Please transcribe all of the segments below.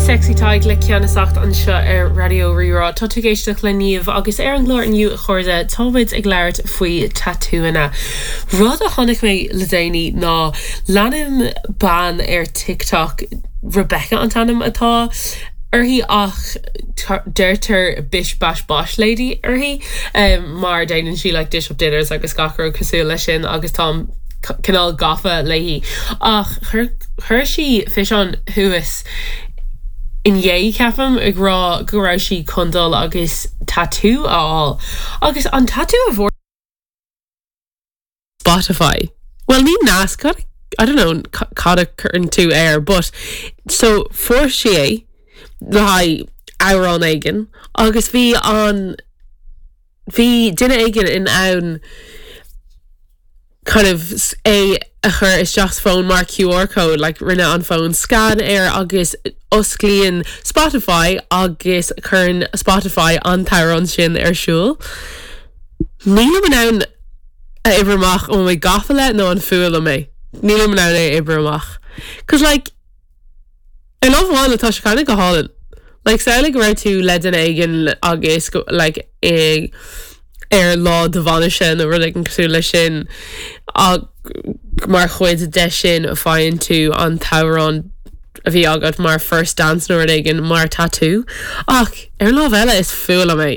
Sexy Tadhg le Ceannasacht anseo ar Raidió Rí-Rá. Tá tú ag éisteacht le Niamh agus ar an gclár inniu a chairde, táimid ag labhairt faoi tatúanna. Rud a chonaic mé le déanaí ná leanaim bean ar TikTok, Rebecca an t-ainm atá uirthi ach deirtear Bish Bash Bosh Lady uirthi mar déanann sí like dish up dinners agus gach rud cosúil leis sin agus táim cineál gafa léi. Ach chuir sí físeán thuas inné, ceapaim, ag rá go raibh sí chun dul agus tatú a fháil. Agus an tatú a bhfuair. Spotify. Bhuel, ní nasc, cad, I don't know cad a chuireann tú air, but so fuair sí é le haghaidh amhrán éigin agus bhí an, bhí duine éigin in ann kind of é a chur isteach sa fón mar QR code, like rinne an fón scan air agus osclaíonn Spotify agus cuireann Spotify an t-amhrán sin ar siúl. Nílim in ann a oibriú amach an bhfuil mé gafa le nó an fuath liom é. Nílim in ann é a oibriú amach. Cos like, ar lámh amháin tá sé kind of go hálainn. Like samhlaigh go raibh tú le duine éigin agus go like i ar lá do bhainise nó rud éigin cosúil leis sin ach mar chuid de sin faigheann tú an t-amhrán a bhí agat mar first dance nó rud éigin mar tatú. Ach ar an lámh eile is fuath liom é.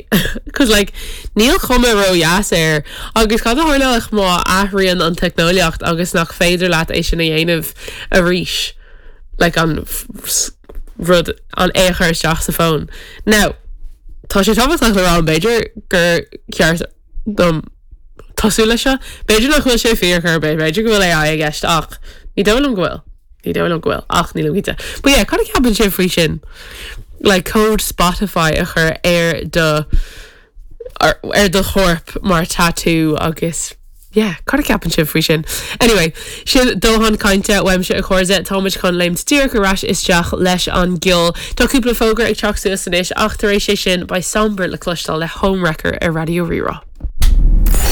Cos like níl cuma ró-dheas air agus cad a tharlódh má athraíonn an teicneolaíocht agus nach féidir leat é sin a dhéanamh arís like an rud an é a chur isteach sa fón. Now tá sé tábhachtach le rá b'fhéidir gur ceart dom tosú leis seo. B'fhéidir nach bhfuil sé fíor chor ar bith, b'fhéidir go bhfuil AI i gceist ach ní dóigh liom go bhfuil. Ní dóigh liom go bhfuil ach nílim cinnte. But yeah, cad a cheapann sibh faoi sin? Like cód Spotify a chur ar do ar do chorp mar tattoo agus yeah, cad a cheapann sibh faoi sin? Anyway, sin dóthain cainte uaimse a chairde, táimid chun léimt díreach ar ais isteach leis an gceol. Tá cúpla fógra ag teacht suas anois ach tar éis é sin beidh Sombre le cloisteáil le Homewrecker ar Raidió Rí-Rá.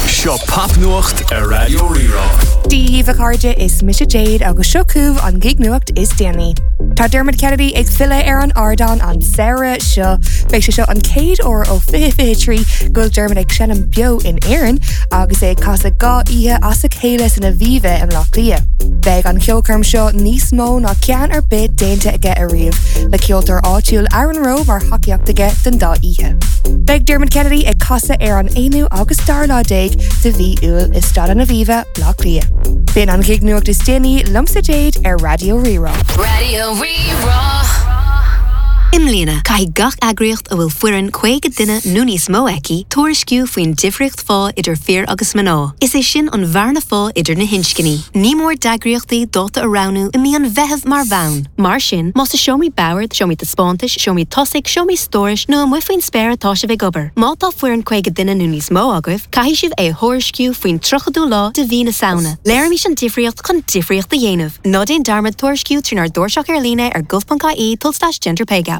Seo Popnuacht ar Raidió Rí-Rá. Dia dhaoibh a chairde, is mise Jade agus seo chugaibh an gig-nuacht is déanaí. Tá Dermot Kennedy ag filleadh ar an ardán an samhradh seo. Beidh sé seo an chéad uair ó 2023 go bhfuil Dermot ag seinm beo in Éirinn agus é ag casadh 2 oíche as a chéile san Aviva i mBleá Cliath. Beidh an cheolchoirm seo níos mó ná ceann ar bith déanta aige ariamh, le ceoltóir áitiúil Aaron Rowe mar thacaíocht aige don dá oíche. Beidh Dermot Kennedy ag casadh ar an aonú agus dara lá déag de mhí Iúil i Staid an Aviva, Bleá Cliath. B'in an ghig-nuacht is déanaí liomsa Jade ar Raidió Rí-Rá. Raidió Rí-Rá. I mbliana, caithfidh gach eagraíocht a bhfuil foireann 50 duine nó níos mó aici tuairisciú faoin difríocht phá idir fir agus mná, is é sin an bhearna phá idir na hinscní. Ní mór d'eagraíochtaí dáta a roghnú i mí an Mheithimh mar bhonn. Mar sin, más i seomraí boird, seomraí taispeántais, seomraí tosaigh, seomraí stórais nó amuigh faoin spéir atá sibh ag obair, má tá foireann 50 duine nó níos mó agaibh, Caithfidh sibh é a thuairisciú faoin 30ú lá de mhí na Samhna. Léirímis an difríocht chun difríocht a dhéanamh. Ná déan dearmad tuairisciú trínár dtairseach ar líne ar gov.ie tulslais genderpaygap.